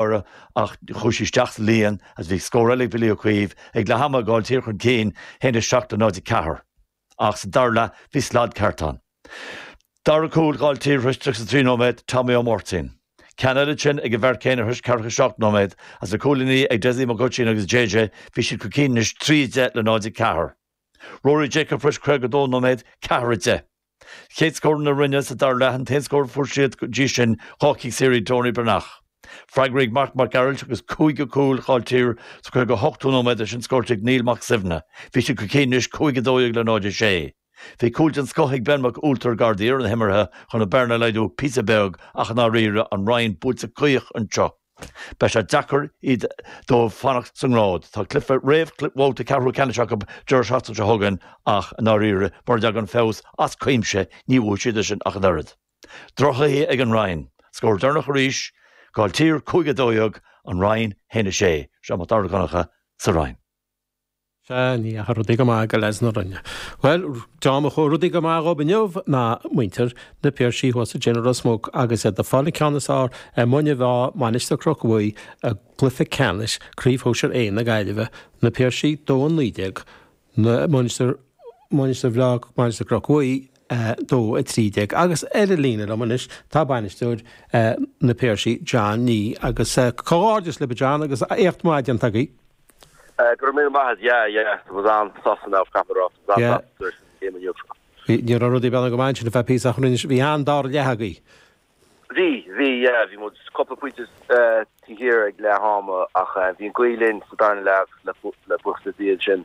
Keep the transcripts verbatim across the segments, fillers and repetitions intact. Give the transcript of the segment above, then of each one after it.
orthu ach chuaigh sí isteach sa líon agus bhí scór eile ag Billy Ó Caoimh ag leath ama Gailltír chun cinn haon a seacht le náid a ceathair. Ach sa dara leath bhí slad ceart ann. Dara cúl Gailltír tar éis tríocha trí nóiméad Tommy Ó Máirtín. Ceann eile ansin ag an bhfear céanna tar éis ceathracha seacht nóiméad agus na cúilíní ag Dessie Mac Oisín agus JJ bhí siad chun cinn anois trí deich le náid a ceathair. Rory Jacob tar éis caoga dó nóiméad ceathair a deich. Chéad scór na Rinne sa dara leath an t-aon scór a fuair siad go dtí sin dhá chic saor ag Tony Breathnach. Freagra ag Mark Mac Gearailt agus cúigiú cúl Ghailltír sa caoga hochtú nóiméad sin scóráilte ag Neil Mac Suibhne. Bhí siad chun cinn anois cúig a dó dhéag le náid a sé. Bhí cúl den scoth ag Ben Mac Ualtair gar deireadh na himeartha chun an bearna a laghdú píosa beag ach i ndáiríre an Rinn buailte caoch anseo. Beidh sé deacair iad dóibh fanacht sa ngrád. Tá cluiche réamh-bhabhta ceathrú ceannais acu deireadh seachtaine seo chugainn ach i ndáiríre mura dtagann feabhas as cuimse ní bhuafaidh siad sin ach an oiread. Droch-chluiche ag an Rinn. Scór deireanach arís, Gailltír cúig a dó dhéag, an Rinn haon a sé. Seo Mac Dara Connacha sa Rinn. Sea, ní dheachaigh rudaí go maith go leaids na Rinne. Bhuel, dá mba chuaigh rudaí go maith dhóibh inniu ná muintir na Piarsaigh thuas ansin i Ros Muc agus iad ag fáil an ceann is fearr ar Muine Mheá, Mainistir Chnoc Mhuí i gcluiche ceannais Craobh Shóisir A na Gaillimhe, na Piarsaigh dó a naoi déag, na Mainistir Mainistir Bhreá Mainistir Chnoc Mhuí dó a trí déag. Agus ar an líne liom anois tá bainisteoir na Piarsaigh John Nee agus comhghairdeas libh a John agus éacht maith déanta agaibh. Go raibh míle maith agat, yeah, yeah, tá muid an-sásta now, caithfidh mé a rá, tá muid an-sásta tar éis an game inniu. Ní raibh rudaí beanna go maith ansin ar feadh píosa ach rinne bhí an-dara leath agaibh. Bhí, bhí, yeah, bhí muid cúpla pointe taobh thiar ag leath ama ach bhí an ghaoth linn sa darna leath le le buíochas le Dia ansin.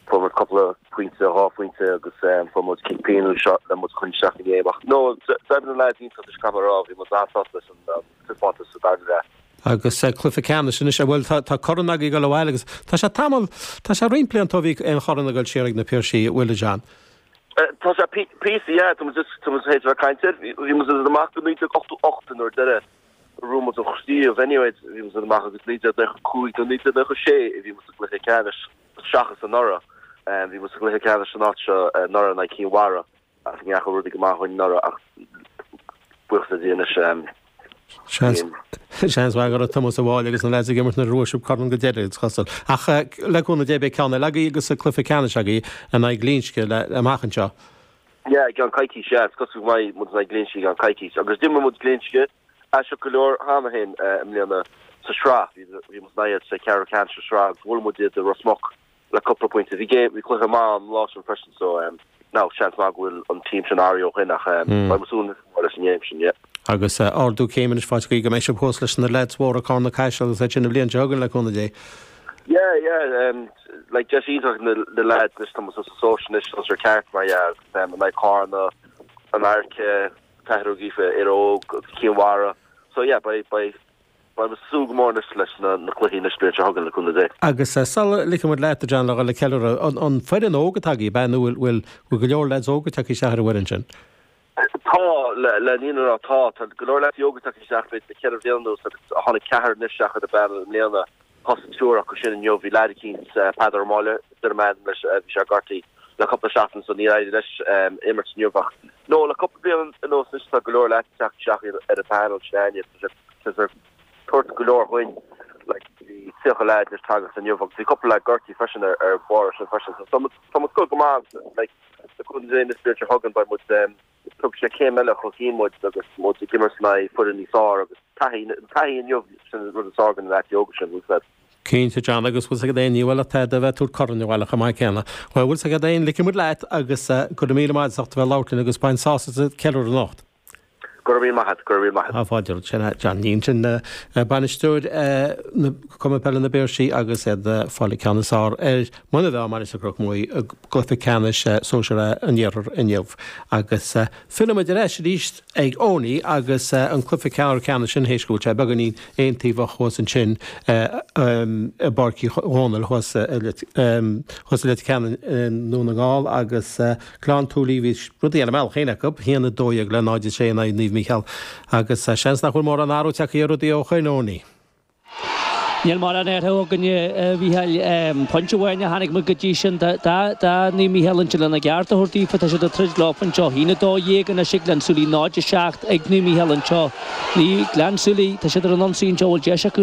Fuair muid cúpla pointe, dhá phointe agus fuair muid cic pionóis le muid a choinneáil isteach sa game ach no, d'oibrigh na lads iontach anois caithfidh mé a rá, bhí muid an-sásta leis an taispeántas sa darna leath. Agus cluiche ceannais anois, bhuel tá tá corn agaibh ag dul abhaile agus tá sé tamall, tá sé roinnt blianta ó bhí aon chorn ag dul siar ag na Piarsaigh, bhfuil a John? Tá sé píosa, yeah, tá muid just, tá muid théis a bheith ag caint air, bhí muid amach go naoi déag ochtó ocht nuair deireadh a bhuaigh muid an chraobh anyway, bhí muid amach agus naoi déag nócha cúig nó naoi déag nócha sé a bhí muid sa gcluiche ceannais seachas anuraidh. Bhí muid sa gcluiche ceannais san áit seo anuraidh in aghaidh Cinn Mhara ach ní dheachaigh rudaí go maith dhúinn anuraidh ach buíochas le Dia anois. Seans seans maith go raibh Tomás sa bhaile agus na lads ag imirt nuair a bhuaigh sibh corn go deireadh, is cosúil. Ach le cúnamh Dé beidh ceann eile agaibh agus cluiche ceannais agaibh in aghaidh Ghlinsce le amach anseo. Yeah, i gceann coicís, yeah, is cosúil go mbeidh muid in aghaidh Ghlinsce i gceann coicís. Agus d'imir muid Glinsce aisteach go leor cheana féin i mbliana sa sraith. Bhí bhí muid in aghaidh iad sa cheathrú ceannais sa sraith agus bhuail muid iad i Ros Muc le cúpla pointe. Bhí game, bhí cluiche maith an lá sin freisin so now seans maith go bhfuil an team sin athraithe ó shin ach beidh muid súil níos mó leis an game sin, yeah. Agus ardú céime anois faighte agaibh go mbeidh sibh thuas leis na leaids mhóra Carna Caiseal agus iad sin an bhliain seo chugainn le cúnamh Dé. Yeah, yeah, um, like deis iontach na, na lads anois tá muid sa sóisear anois sóisear ceart mar yeah, agus um, in aghaidh Carna, an Fhairche, Cathair Ó Gíofa, Éire Óg agus Cinn Mhara. So yeah, beidh, beidh, beidh muid ag súil go mór anois leis na, na cluichí anois bliain seo chugainn le cúnamh Dé. Agus sula ligfidh muid leat, a John, le dhul ag ceiliúradh, an, an foireann óg atá agaibh, ab ea, nó bhfuil, bhfuil, bhfuil go leor lads óga tagtha isteach ar an bhfoireann sin? Tá, le, le an fhírinne a rá, tá. Tá go leor lads óga tagtha isteach b'fhéidir le ceithre bhliain anuas agus tháinig ceathrar anois isteach ar an bpanel i mbliana. Thosaigh triúr acu sin inniu. Bhí leaid eicínt, Peadar Ó Máille, duine m'ainm leis, bhí sé gortaithe le cúpla seachtain so níor éirigh leis imirt inniu ach no, le cúpla bliain anuas anois tá go leor leaids ag teacht isteach ar an panel sin againne. Tá sé tá sé ag tabhairt go leor dhuinn. Like bhí tríocha leaid anois tagtha inniu agus bhí cúpla leaid gortaithe freisin ar ar bharr sin freisin. So tá muid tá muid go go maith like le cúnamh Dé an bhliain seo chugainn beidh muid tógfaidh sé céim eile chun cinn muid agus muid ag imirt in aghaidh foireann níos fearr agus taithí taithí inniu sin rud is fearr do na leaids óga sin bhfuil fhios agat. Cinnte John agus bhfuil 's agat aon ní bhfuil ach tada a bheith ag tabhairt corn abhaile chomh maith céanna. Bhuel bhfuil 's agat aon ligfidh muid leat agus go raibh míle maith agat as ucht a bheith ag labhairt linn agus bain sásamh as an ceiliúradh anocht. Go raibh míle maith agat, go raibh míle maith agat. Tá fáilte romhat. Sin é John Nee ansin, bainisteoir na Cumann Peile na bPiarsaigh agus iad ag fáil an ceann is fearr ar Muine Mheá Mainistir Chnoc Muaidh i gcluiche ceannais Sóisir A an Iarthair inniu. Agus fillfidh muid ar ais arís ag Owenie agus an cluiche ceathrú ceannais sin théis go bhfuil sé beagáinín aontaobhach thuas ansin i bPáirc Uí Dhónaill thuas i Leitir Ceanainn i nDún na nGall agus Gleann tSúilí, bhí rudaí ar a mbealach féin acu, a haon a dó dhéag le náid a sé in aghaidh Naomh Mícheál agus seans nach bhfuil mórán athrú tagtha ar rudaí ó shoin, Owenie. Níl mórán athrú againne, a Mhícheáil. Pointe amháin a chonaic muid go dtí sin. Tá Naomh Mícheál ansin lena gceart a thabhairt daofa. Tá siad ag troid leo anseo. A haon a dó dhéag anois ag Gleann tSúilí, náid a seacht ag Naomh Mícheál anseo. Ní Gleann tSúilí, tá siad ar an ionsaí anseo, bhfuil deis acu.